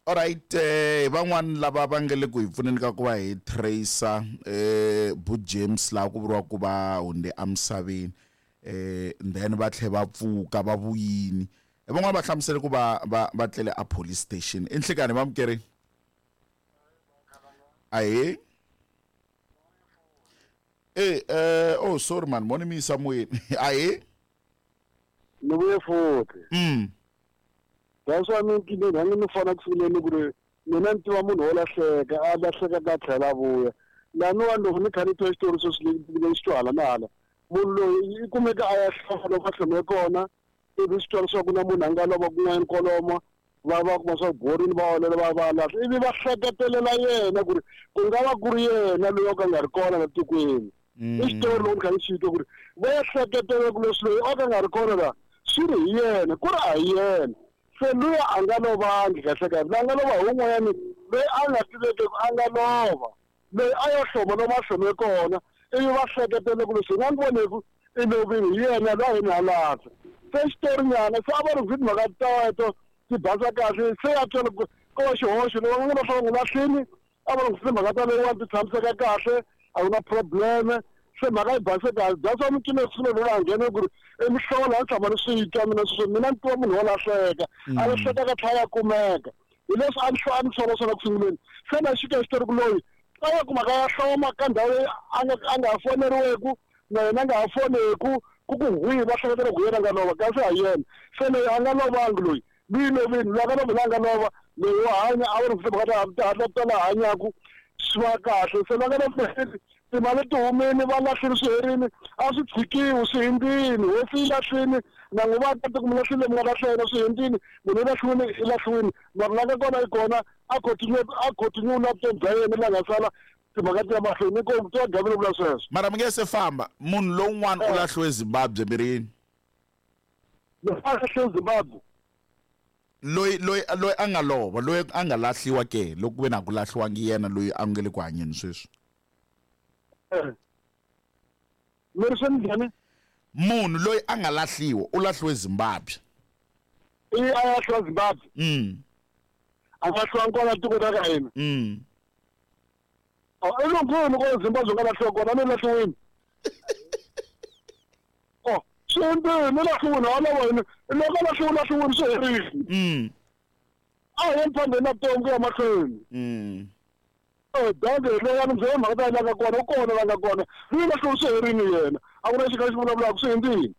Alright, van'wani lava va nga le ku hi pfuneni ka ku va hi tracer Bu James laha ku vuriwa ku va hunde emisaveni then va tlhe va pfuka va vuyini. Van'wani va hlamusele ku va va va tlele a police station. I nhlikani vamukeri? Ahee. Eh oh sorry man, moni mi yisa moyeni. Ahee. Ni vuye futhi. That's why ni nkingeni a ni fona ku sunguleni ku ri mina ni tiva munhu wo lahleka a lahleka ka tlhela a vuya laniwani loko ni kha ni twa xitori sweswi ni xi twa hala na hala munhu loyi i kumeka a ya hloma loko a hlome kona ivi swi twa leswaku na munhu a nga lova kun'wanyana kwalomo va va kuma swa borini va olela va va lahla ivi va hleketelela yena ku ri ku nga va ku ri yena loyi o ka nga ri kona la tikweni i xitori loko ni kha ni xi twa ku ri va ya hleketelela ku leswi loyi o ka nga ri kona la swi ri hi yena ku ri a hi yena se luya a nga lovangi kahle kahle la nga lova hi wun'wanyani loyi a nga tiveki a nga lova loyi a yo hloma lomu a hlome kona ivi va hleketele ku leswi hi nga n'wi voneku i lovile hi yena loyi a yini halahla se xitori nyana se a va ri timhaka teto ti basa kahle se ya twela ko va xihoxo loko va nga va n'wi lahlini a va ri timhaka ta leyiwani ti tshamiseka kahle a ku na probleme se mhaka yi base kahle that's why mi swilo loyi a nghene ku ri i mihlovo a ni tshama ni swi twa mina sweswo mina ni tiva munhu wo lahleka a lahleka ka tlhela ya kumeka hi leswi a ni a ni sola swona ku sunguleni se na xi ka xitori ku loyi a ya kumaka ya hloma ka ndhawu leyi a nga a nga ha foneriweku na yena a nga ha foneku ku ku hwihi va hleketela ku yena a nga lova kasi ha yena se loyi a nga lovangi loyi loyi lovini loyi a nga lova loyi a nga lova loyi wa hanya a wu ri timhaka ta ta hatla ta la hanyaku swi va kahle se va nga lova timali ti humile va lahlile swi herile a swi tshikiwi swi hindzini hosi yi lahlile na n'wi va ta mi lahlile mi nga lahla yena swi hindzini munhu i lahliwile i lahliwile mara la nga kona yi kona a continue a continue na vutomi bya yena la nga sala timhaka ti ya mahlweni inkomu ti va gavile vula sweswo mara mi nge se famba munhu lowun'wana u lahliwe Zimbabwe mi ri yini loyi a lahliwe Zimbabwe loyi loyi loyi a nga lova loyi a nga lahliwa ke loko ku ve na ku lahliwangi yena loyi a nge le ku hanyeni sweswi mi ri swi njhani munhu loyi a nga lahliwa u lahliwe Zimbabwe i a lahliwa Zimbabwe a nga lahliwa kona tiko ra ka hina i lunghini ko Zimbabwe nga lahliwa kona ni lahliwini oh swi hundzile ni lahliwini a lava yini loko a lahliwe lahliwini swi herile a hi yeni phambeni na vutomi ku ya mahlweni danke loyi a ni byela mhaka ta la nga kona u kona la nga kona loyi lahliwe swi herile yena a ku na xi kha xi vulavulaka swi hundzile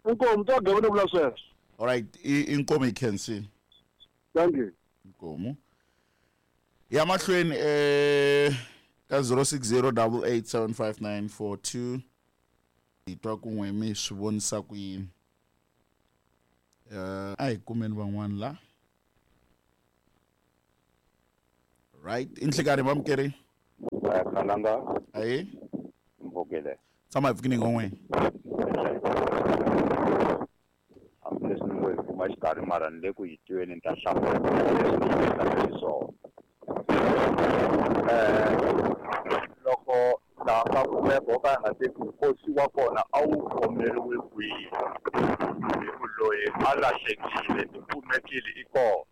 inkomu ta gavele vula sweswo alright inkomu hi khensile thank you inkomu ya mahlweni ka 0608875942 hi twa kun'we mi swi vonisa ku yini a hi kumeni van'wani la right i nhlikani vamukeri Khalanga ayi mpfukile tshama hi pfukini ngon'weni hambileswi ni ngo hi kuma xikarhi mara ni le ku yi tweni ni ta hlamula leswi ni yi xiswona loko laha ka kumeka wo ka nga tivi nkosi wa kona a wu khomeriwe kwihi hi ku loyi a lahlekile i kumekile i kona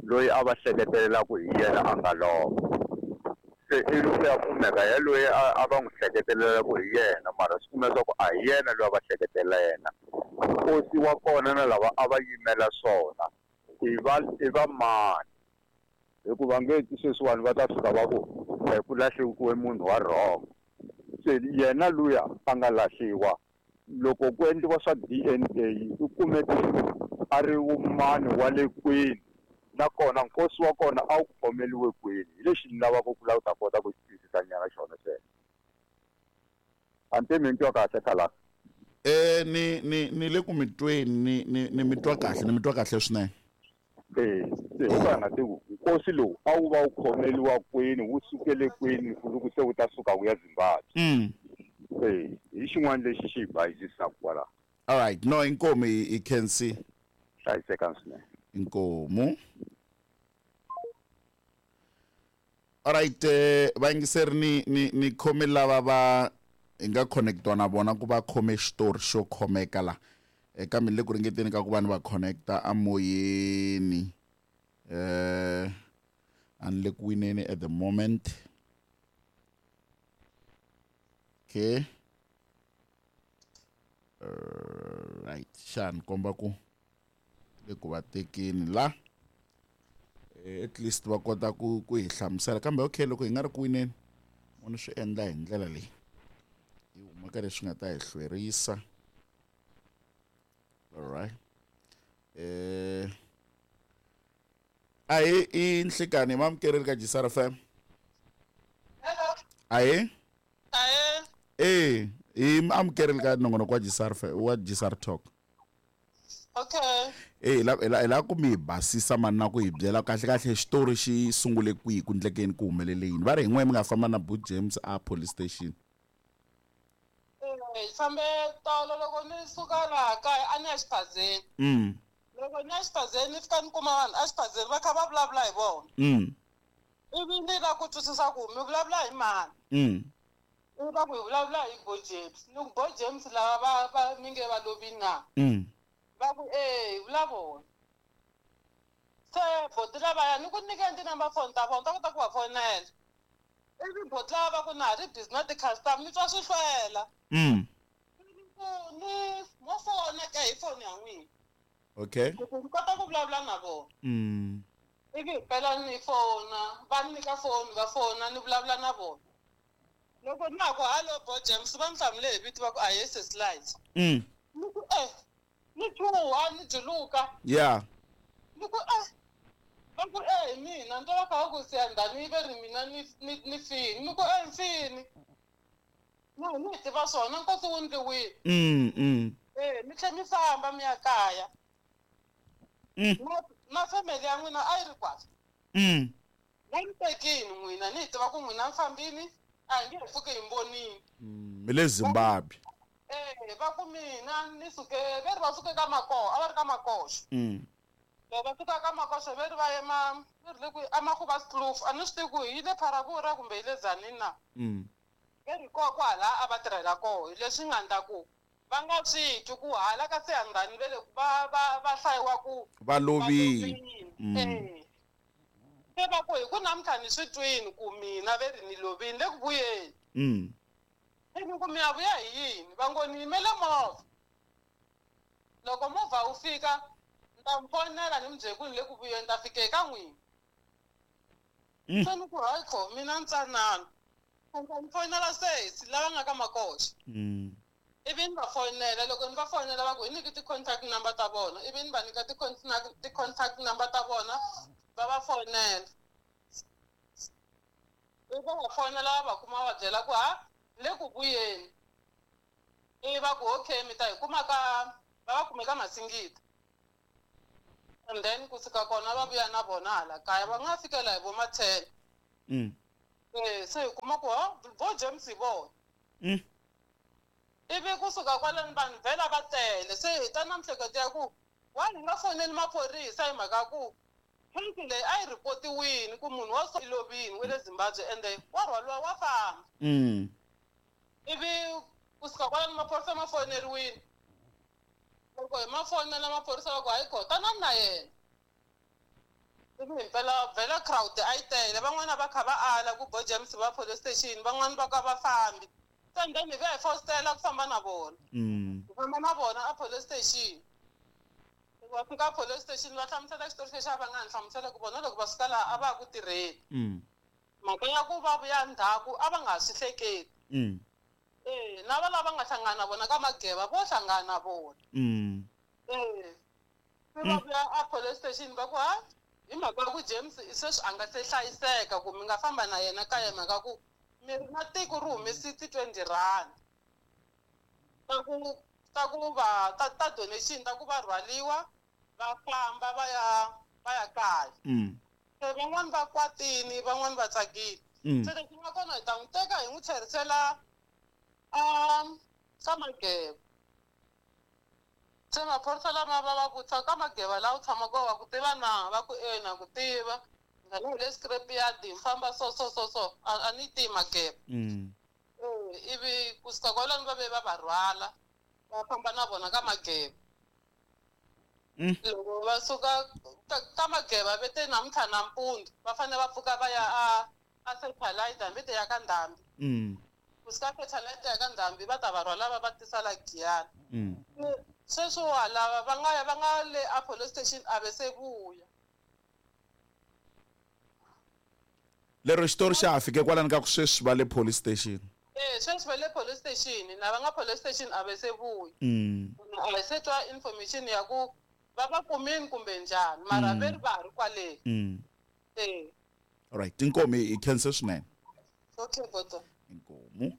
loyi a va hleketelela ku hi yena a nga lova se ivi ku ya kumeka ya loyi a va n'wi hleketelela ku hi yena mara swi kumeka ku a hi yena loyi a va hleketelela yena nkosi wa kona na lava a va yimela swona i va i va mani hikuva nge sweswiwani va ta fika va ku ku lahliwe munhu wa wrong se yena luya a nga lahliwa loko ku endliwa swa D_N_A u kumeke a ri mani wa le kwini nakona nkosi wa kona a wu khomeriwe kwini hi lexi ni lavaka ku lava ku ta kota ku xi twisisa nyana xona xexo a ni mi ni twa kahle khalanga ni ni ni le ku mi tweni ni ni ni mi twa kahle ni mi twa kahle swinene se ho ka nga tivi nkosi lowu a wu va wu khomeriwa kwini wu sukele kwini loko se wu ta suka wu ya Zimbabwe hi xin'wana lexi xi hi bayizisaka kwalaho alright no inkomu hi khensi hlayisekani swinene inkomu alright vayingiseri ni ni ni khome lava va hi nga connectiwa na vona ku va khome xitori xo khomeka la kambe ni le ku ringeteni ka ku va ni va connecta amoyeni. A ni le ku wineni at the moment. Okay. Right, xa ni komba ku le ku va tekeni la. At least va kota ku hi hlamusela, kambe okay, loko hi nga ri ku wineni vona swi endla hi ndlela leyi hi huma ka leswi nga ta hi hlwerisa. Alright, ahi i nhlikani mamukereli ka Gisara FM. Hello. Ahi. Ahe. Hi amukereli ka nongonoko wa Gisara wa Gisara Talk. Okay. Hi la ku mi hi basisa mani na ku hi byela kahle kahle xitori xi sungule kwihi, ku ndlekeni ku humelele yini. Va ri hi n'we mi nga famba na Boot James a police station. Hi fambe tolo loko ni suka laha kaya a ni ya xiphazeni. Loko ni ya xiphazeni ni fika ni kuma vanhu a xiphazeni va kha va vulavula hi vona. Ivi ni lava ku twisisa ku mi vulavula hi mani. Ivi va ku hi vulavula hi Bo James. Ni ku Bo James lava va mi nge va lovini na? Va ku hi vula vona. Se boti lavaya ni ku nyikeni ti-number phone ta vona ta kota ku va fonela. Ivi boti lava va ku na ha ri busy na ti-customer ni twa swi hlwela. Ku ni mo fona ka hi foni ya n'wina. Okay. Ku ni kota ku vulavula na vona. Ivi hi pela ni fona, va ni nyika foni va fona ni vulavula na vona. Loko na ku hello Bo James va ni hlamule hi vito va ku a yes slides. Ni ku ni chuha ni juluka. Yeah. Ni ku va ku hi mina ni twa va kha va ku siyandhani ve ri mina ni fini. Ni ku mfini. Ni tiva swona nkosi wu ndliwile. Mi tlhe mi famba mi ya kaya. Na family ya n'wina a yi ri kwala. Va ni tekini n'wina ni hi tiva ku n'wina mi fambini a hi nge he pfuki hi mi vonile. Mi le Zimbabwe. Va ku mina ni suke ve ri va suke ka Makoho, a va ri ka Makoxo. Loko va suka ka Makoxo ve ri va yema ve ri le ku a Makhuvaskloof, a ni swi tivi ku hi le Pharavura kumbe hi le Tzaneen na. Ve ri koho kwala a va tirhela koho, hi leswi nga endla ku va nga swi twi ku hala ka Siyandhani ve le va hlayiwa ku va lovile. Se va ku hi ku namuntlha ni swi twini ku mina ve ri ni lovile le ku vuyeni. Ni ku mi ya vuya hi yini? Va ngo ni yimele movha. Loko movha wu fika ni ta mi fonela ni mi byela ku ni le ku vuyeni, ni ta fika eka n'wina. Se ni ku hayi kho mina ntsanana. Ni ta mi fonela sesi lava nga ka Makoxo. Ivi ni va fonela, loko ni va fonela va ku hi nyiki ti-contact number ta vona, ivi ni va nyika ti-contact number ta vona va va fonela. Ivi va va fonela va va kuma va byela ku ha le ku vuyeni. Ivi va ku okay mi ta hi kuma ka va va kume ka Masingita. And then kusuka kona va vuya na vona hala kaya va nga fikela hi vo ma 10. Se hi kuma ku ha Bo James hi vona. Ivi kusuka kwalano vanhu vhela va tele, se hi ta na mihleketo ya ku wa hi nga foneli maphorisa hi mhaka ku case leyi a yi ripotiwini ku munhu wa so i lovini wa le Zimbabwe ende wa rhwaliwa wa famba. Ivi kusuka kwalano maphorisa ma foneriwile. Loko hi ma fonela maphorisa va ku hayi kho tanani na yena. Ivi himpela vhela crowd a yi tele, van'wana va kha va ala ku Bo James va police station, van'wana va ka va fambi. Se then hi vuya hi fositela ku famba na vona. Hi famba na vona a police station. Loko va fika police station va hlamusela xitori lexi a va nga ni hlamusela ku vona loko va suka laha a va ya ku tirheni. Mhaka ya ku va vuya ndzhaku a va nga ha swi hleketi. Na va lava nga hlangana na vona ka Mageba vo hlangana na vona. Se va vuya a police station va ku ha hi mhaka ya ku James sweswi a nga se hlayiseka ku mi nga famba na yena kaya hi mhaka ku mi ri na tiko ri humesi ti-20 rand ta ku ta ku va ta ta donation ta ku va rhwaliwa va famba va ya kaya. Se van'wani va kwatini van'wani va tsakile. Se leswi nga kona hi ta n'wi teka hi n'wi tlherisela ka Mageba. Se maphorisa lama va va vutisa ka Mageba laha u tshamaka kona wa ku tiva na? Va ku na ku tiva. Ngani hi le scrap yard hi famba so so so so a ni tivi Mageba. Ivi kusuka kwalano va ve va va rhwala va famba na vona ka Mageba. Loko va suka Ka Mageba ve te namuntlha nampundzu va fanele va pfuka va ya a a satellite hambi te ya ka Ndhambi. Kusuka satellite ya ka Ndhambi va ta va rhwala va va tisa la Giyani. Sweswiwa lava va nga ya va nga le a police station a ve se vuya. Lero xitori xa ha fike kwalani ka ku sweswi va le police station. Eh, sweswi va le police station, na va nga police station a ve se vuya. A hi se twa information ya ku va va kumini kumbe njhani, mara ve ri va ha ri kwale. Eh. Alright, inkomu, hi khense swinene. Okay, boto. Inkomu.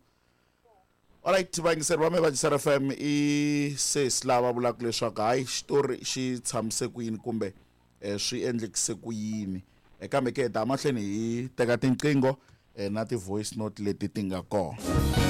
Alright, vayingiseri va me va Jisara FM, i sesi lava vulaka leswaku hayi, xitori xi tshamise ku yini kumbe swi endlekise ku yini. Kambe ke hi ta mahlweni hi teka tinqingho na ti-voice note leti ti nga kona.